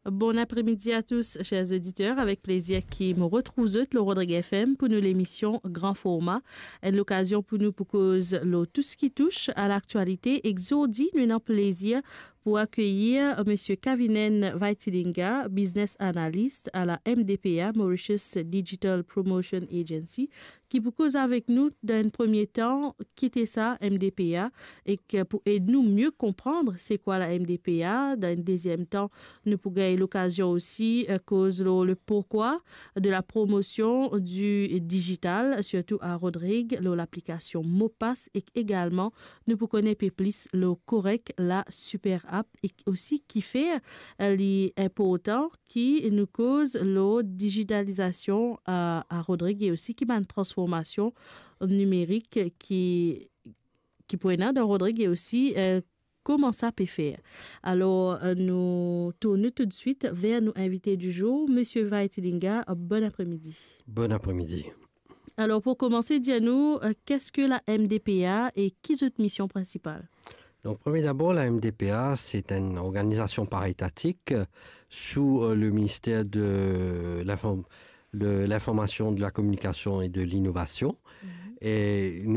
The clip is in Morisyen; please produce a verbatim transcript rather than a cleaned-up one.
Bon apremidi a tous, chers auditeurs. Avek plezir ki mo retrouv zot lor Rodrig F M pou nou lemision Gran Forma. Enn lokazion pou nou pou koz lor tou seki touch a laktialite. Ek zordi, nou ena plezir pou akeyir Misie Kavinen Vaitilinga, business analyst a la M D P A, Mauritius Digital Promotion Agency, ki pou koz avek nou dan enn premie tan, ki ete sa M D P A, ek pou ed nou mie konpran se kwa la M D P A. Dan enn deziem tan, nou pou gagn lokazion osi, eh, koz lor le pourquoi de la promotion du digital, sirtou a Rodrig, lor laplikasion Mopass, ek egalman, nou pou kone pe plis lor Korek, la super app, ek osi kifer, eh, li inportan ki nou koz lor digitalizasion, eh, a Rodrig e osi ki bann transformasion nimerik ki, ki pou ena dan Rodrig e osi, eh, kouma sa pe fer. Alor, eh, nou tourn toudswit ver nou invite di zour, Misie Vaitilinga, bon apremidi. Bon apremidi. Alor, pou komanse, dir nou, eh, qu'est-ce que la M D P A e ki zot mision prinsipal? Donc, premier d'abord, la M D P A, c'est une organisation paritatique, euh, sous, euh, le ministère de l'inform-, de l'Information, de la Communication et de l'Innovation. Mhm. Et nous